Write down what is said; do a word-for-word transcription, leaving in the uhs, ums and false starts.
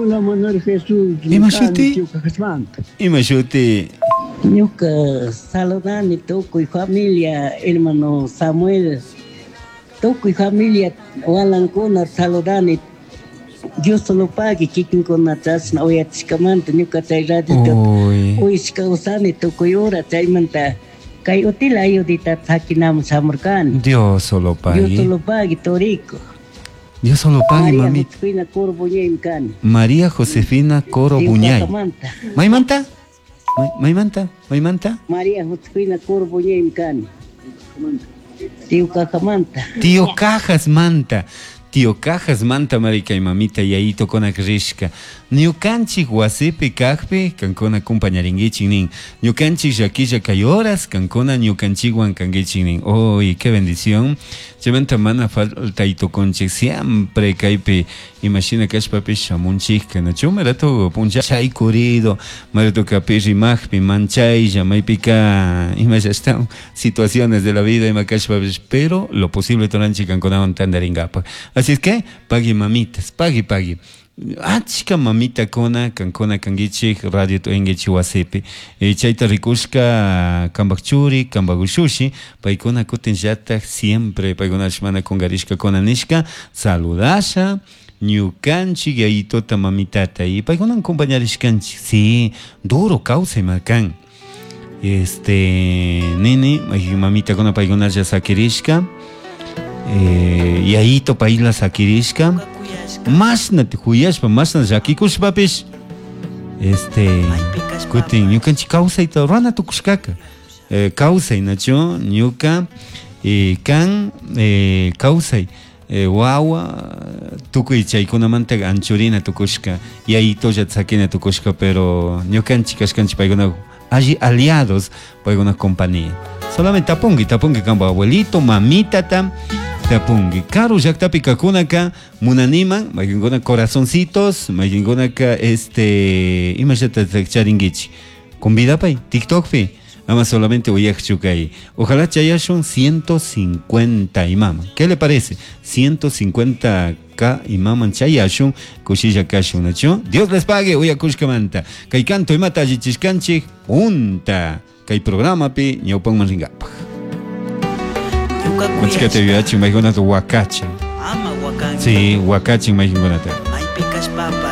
Hola Manuel Jesús. Ima shuti? Ima shuti? Ñuka saludani tukuy familia, hermano Samuel. Tukuy familia walankuna saludani. Dios solo pague kikinkuna chashna uyachishkamanta ñuka chay radiota uyashka usani tukuy hora chaymanta kay utila ayudita sakinaman shamurkani. Dios solo pague. Dios solo pague, Torico. Dios solo pague, María mami. Josefina Coro Buñay kani. María Josefina Coro Buñay. Maymanta. Maymanta? Maymanta? Maymanta? María Josefina Coro Buñay kani. Tío Cajamanta. Tío Cajas Manta. Tío Cajas Manta marica y mamita yayito con akrishka. Ñukanchik wasipi kajpi kankuna compañaringuichik nin. Ñukanchik llakilla kay horas kankuna ñukanchikwan kanguichik nin. Uy, qué bendición. Chaymanta mana falta itukunchik siempre kaypi imashina kashpapish shamunchikka nachu marato puncha chaykurido marato kapi rimajpi manchaylla maypika imalla situaciones de la vida ima kashpapish, pero lo posible turanchik kankunawan tantaringapaj. Así es que pagui mamitas, pagui pagui. Achka mamita kona kankuna kangichik radio tuengichi wasipi. E chayta rikushka kambak churi, kambak ushushi, paykuna kutin llatak siempre paykuna mana kungarishka kona nishka saludasha ñukanchik yayitota mamitata y paykuna acompañarishkanchik. Sí, duro kawsay makan. Este nini, mamita kona paykuna ya sakirishka. Eh, yayito payla sakirishka. Masna huyashpa, masna llakikushpapish, este, kutin ñukanchik kawsayta runa tukushkaka. Eh, kawsay nachu ñuka eh, kan eh, kawsay eh, wawa tukuy chaykunamanta anchurina tukushka, yayitolla sakina tukushka, pero ñukanchik kashkanchik paykuna alli aliados paykuna compañía. Solamente tapungi, tapungi kanpa abuelito, mamitata, tapungi. Karu llaktapi kakunaka munaniman, mayqinkuna corazoncitos, mayqinkunaka este imallata charinkichik. Convidapay TikTokpi, ama solamente uyaqchu kay. Ojalá chayashun ciento cincuenta imama. ¿Qué le parece? ciento cincuenta k imaman chayashun, kushilla kashun, nachu. Dios les pague, uyakushkamanta. Kay canto imata allichishkanchik, punta. Kay programapi ñawpanman ringapaj. Machkata yuyachin maykunata wakachin. Ama wakanki. Sí, wakachin maykunata. Maypi kashpapash.